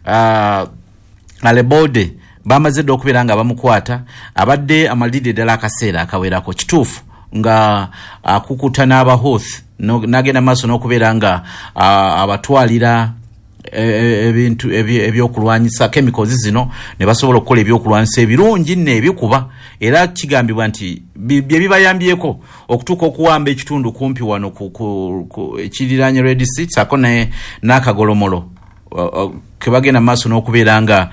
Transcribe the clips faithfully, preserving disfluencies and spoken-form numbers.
uh, Alebode bamaze dda okubeera nga bamukwata. Abadde amalidde ddala akaseera akawerako, kituufu nga akukuta n'Abahouthi, n'agenda maaso n'okubeera nga abatwalira ebintu ebyokulwanyisa, chemicals zino, ne basobola okukola ebyokulwanyisa ebirungi nno ebikuba. Era kigambibwa nti bye bibayambyeko okutuuka okuwamba ekitundu kumpi wano ekiriraanye Red Sea, saako n'akagolomolo ke bagenda maaso n'okubeera nga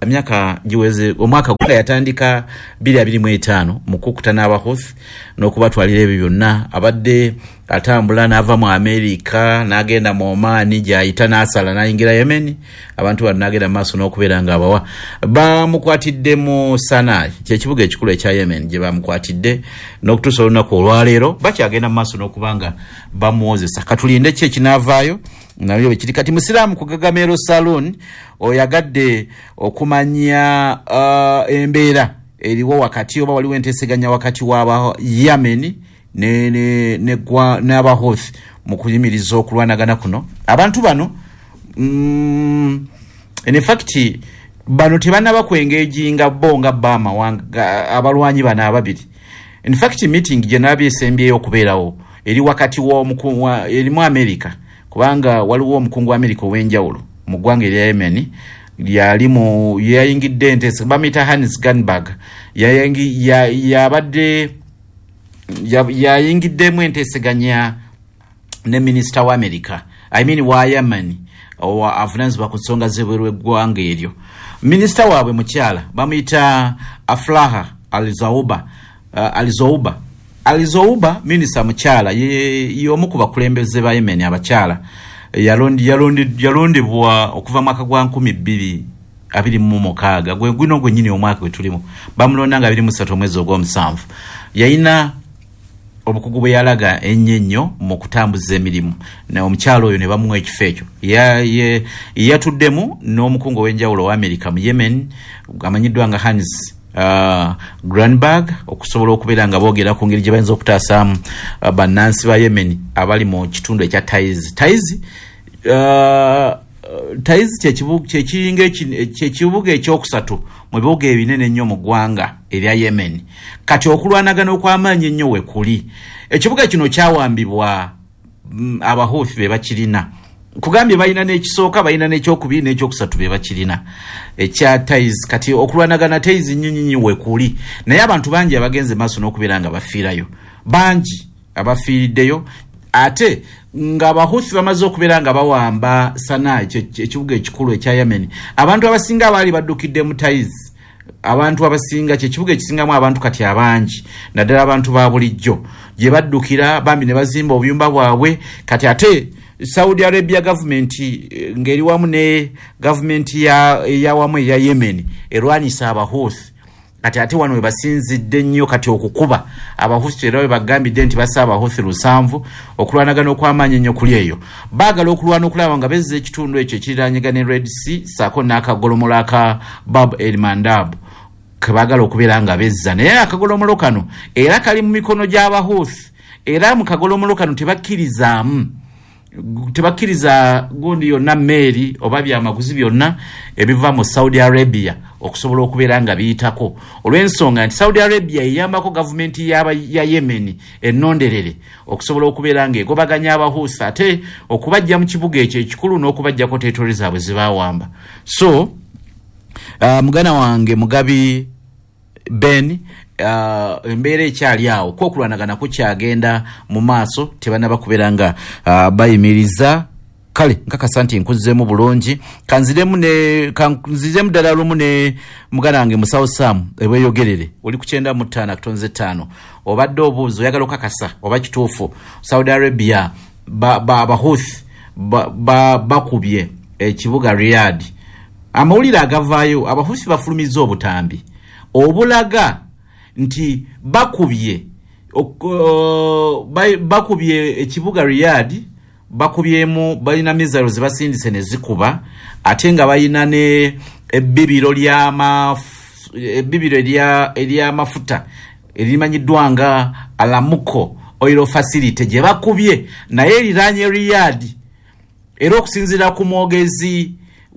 emyaka giweze omwaka gwa yatandika bbiri abiri mu etaano mu kukuta n'Abahouthi n'okubatwalira ebyo byonna. Abadde atambula n'ava mu Amerika n'agenda mu Oman, gy'ayita n'asala n'ayingira Yemen. Abantu bano n'agenda mu maaso n'okubeera nga abawa. Bamukwatidde mu Sanaa, kyekibuga ekikulu ekya Yemen, gye bamukwatidde n'okutuusa olunaku olwaleero bakyagenda mu maaso n'okuba nga bamuwozesa. Katulinde ki ekinaavaayo nabyo bwe kiri. Kati Musiraamu ku Gagamero Saloon oyagadde okumanya uh, embeera eriwo wakati oba waliwo enteeseganya wakati w'aba Yemen n'Abahouthi mu kuyimiriza okulwanagana kuno. Abantu bano mm, in fact bano tebannaba kwengeejinga bo nga bo amawanga abalwanyi bano ababiri. In fact meeting gye nabye esembyeyo okubeerawo eri wakati w'omukungu erimu America, kubanga waliwo omukungu wa America ow'enjawulo mu ggwanga erya Yemen yali mu yayingidde enteesa, bamuyita Hans Granberg, yabadde yayingiddemu enteeseganya ne minisita wa America, I mean wa Yemen, avunaanyizibwa ku nsonga z'ebweru w'eggwanga eryo. Minisita waabwe mukyala bamuyita Aflaha Alizauba, uh, Alizouba Alizouba minisita mukyala y'omu ku bakulembeze ba Yemen abakyala. Yalondebwa okuva mwaka gwa nkumi bbiri abiri mu mukaaga, gwe guno gwennyini omwaka gwe tulimu, bamulonda nga abiri mu ssatu omwezi ogw'omusanvu. Yalina obukugu bwe yalaga ennyo ennyo mu kutambuza emirimu, omukyala oyo ne bamuwa ekifo ekyo. Yatuddemu n'omukungu ow'enjawulo owa Amerika mu Yemen amanyiddwa nga Hans Uh, Granberg, okusobola okubeera nga boogera ku ngeri gye bayinza okutaasaamu uh, bannansi ba Yemen abali mu kitundu ekya Taiz. Taiz uh, Taiz kyekiringa kyekibuga ekyokusatu mu bibuga ebinene ennyo mu ggwanga erya Yemen. Kati okulwanagana okw'amaanyi ennyo we kuli. Ekibuga kino kyawambibwa mm, Abahouthi be bakirina. Kugambye balina n'ekisooka, balina n'ekyokubiri n'ekyokusatu be bakirina ekya Taiz. Kati okulwanagana Taiz nnyinnyinyi we kuli, naye abantu bangi abagenze maaso n'okubeera nga bafiirayo, bangi abafiiriddeyo. Ate nga Abahouthi bamaze okubeera nga bawamba Sanaa, ekibuga ekikulu ekya Yemen, abantu abasinga abaali baddukidde mu Taiz, abantu abasinga kyekibuga ekisingamu abantu kati abangi, naddala abantu ba bulijjo, gye baddukira bambi ne bazimba obuyumba bwabwe. Kati ate Saudi Arabia government ng'eri wamu ne gavumenti eyawamu eya Yemen erwanyisa Abahouthi. Kati ate wano we basinzidde nnyo kati okukuba Abahouthi, era we bagambidde nti bassa Abahouthi lusanvu. Okulwanagana okw'amaanyi ennyo kuli eyo. Baagala okulwana okulaba nga bezza ekitundu ekyo ekiriraanyega ne Red Sea ssaako n'akagolomolo aka Bab el Mandab ke baagala okubeera nga bezza. Naye akagolomolo kano era kali mu mikono gy'Abahouthi, era mu kagolomolo kano tebakkirizaamu tebakkiriza gundi yonna, meeri oba byamaguzi byonna ebiva mu Saudi Arabia okusobola okubeera nga biyitako, olw'ensonga nti Saudi Arabia eyambako gavumenti ya Yemen ennonderere okusobola okubeera nga egobaganya Abahouthi, ate okubajja mu kibuga ekyo ekikulu n'okubajjako territory zaabwe zebawamba. So uh, muganda wange Mugabi Ben, uh, embeera ekyali awo, ko okulwanagana kukyagenda mu maaso, tebannaba kubeera nga uh, bayimiriza. Kale nkakasa nti nkuzzeemu bulungi. Kanziremu ne kanziremu ddala lumu ne muganda wange Musawo Sam ebweyogerere, oli ku kyenda mu ttaano akatonze ttaano. Obadde obuuza oyagala okakasa oba kituufu Saudi Arabia Abahouthi bakubye ekibuga Riyadh. Amawulire agavaayo, Abahouthi bafulumizza obutambi obulaga nti bakubye bakubye ekibuga Riyadh, bakubyemu, balina missiles basindise ne zikuba, ate nga balina ne ebbibiro ebbibiro ery'amafuta erimanyiddwa nga Alamuko Oil Facility gye bakubye, naye eriraanye Riyadh. Era okusinziira ku mwogezi